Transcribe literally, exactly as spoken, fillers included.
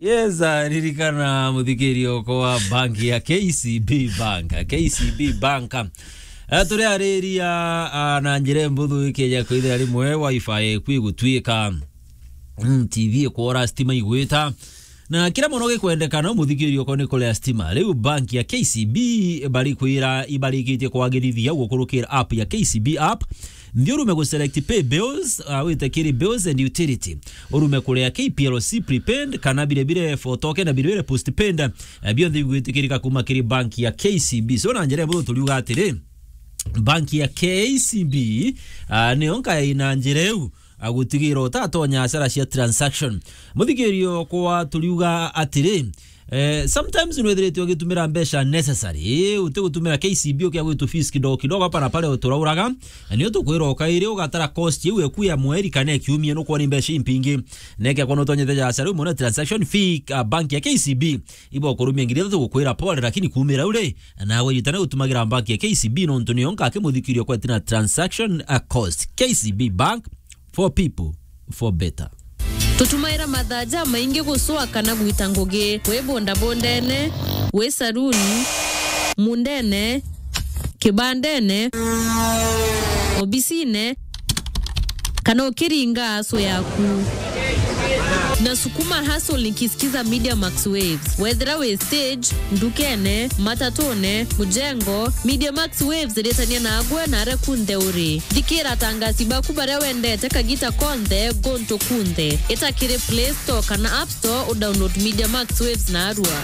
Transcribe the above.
Yes, ah, ririkana, muthikiria okwa, bank ya K C B Bank, K C B Bank. Ah, turi ariria, ah, na njira mbuthu ikeja kwithira rimwe wifi kwi gutwika, mm, T V ikwora, stima igwita, na kira mono gikwendekana, muthikiria okwa, ni kuria stima. Riu bank ya K C B bari kwira ibarikitie kwagirithia gukurukira app ya K C B app. Nthi urume gu select pay bills, ah, wite kiri bills and utility. Urume kuria K P L C prepaid, kana bire bire for token na bire bire postpaid. Eh, bionthe bigwitikirika kuma kiri bank ya K C B. So, na njira mbuthu turiuga atiri, bank ya K C B, ah, niyo nkai na njira iu, ah, gutigira utatonya hasara cia transaction. Muthikiria okwa, turiuga atiri, eh, sometimes nwithiritwe ugitumira mbeca necessary, utigutumira K C B ukia gwitu fees kidogo kidogo hapa na pale uturauraga, na nio tukwira ukairi ugatara cost iu eku ya mweri kana ya kiumia, nukwona ni mbeca impingi. Neke kwa nutonyete ja hasara, umone transaction fee, ah, bank ya K C B ibo kurumia ngiri ithatu gukwira pole, lakini kumira uri, nawe yitana gutumagira bank ya K C B, nontu niyo nkaki muthikiria okwa tina transaction, ah, cost. K C B Bank, for people, for better. Tutumaira mathaa jamaingi gucua kana gwita ngugi, wi bondabondene, wi saruni, mundene, kibandene, obisine, kana ukiringa aso yaku. Nasukuma hustle nikisikiza Media Max Waves. Wethira wi stage, ndukene, matatune, mujengo, Media Max Waves iritania nagwe na aria kunthe uri. Thikira atangasi baku baria wendete kagita konthe guntu kunthe. Ita kiri Play Store kana App Store u download Media Max Waves narua.